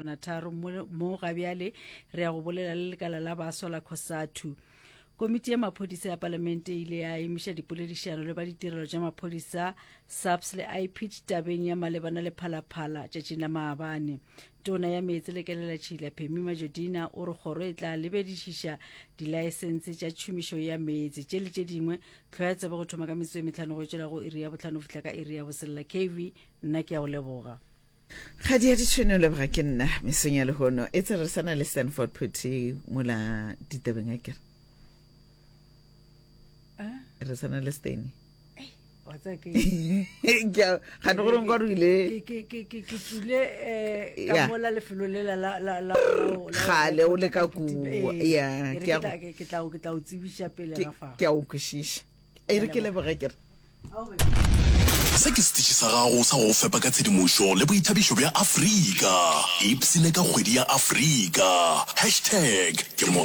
khutlwana tharo mo, mo gabjale re ya go bolela le lekala la baswa la Cosatu. Komiti ya maphodisa ya palamente e ile ya emiša dipoledišano le ba ditirelo tša maphodisa SAPS le IPID tabeng ya malebana le phalaphala tšatšing la maabane. Tona ya meetse le kelelatšhila Phemi Majodina o re kgoro e tla lebedišiša dilaesense tša tšhomišo ya meetse tše le tše dingwe. Tlhoya tsebe go thoma ka metsotso e metlhano go tšwela go iri ya bohlano go fihla ka iri ya boselela. KV, nna ke a go leboga. Kgadi ya ditšhwene o leboga ke nna mesong ya lehono e tse re sana le Stanford Phuthi mola ditabeng a kere re sana le Steny wa tseba ke gane gore nka re ile ke ke ke ke tsule eh ka Yeah. mola lefelo lela la la la la- la- Kgale o le ka kua. Eh, Yeah, e re ke a ke tla- ke tla ke tla o tsebiša pele ke ga fa ke a o kwešiša e re ke leboge ke re Se ke setiši sa gago sa go go fepa ka tshedimošo le boithabišo bja Afrika. Ipshine ka kgwedi ya Afrika. Hashtag ke mo.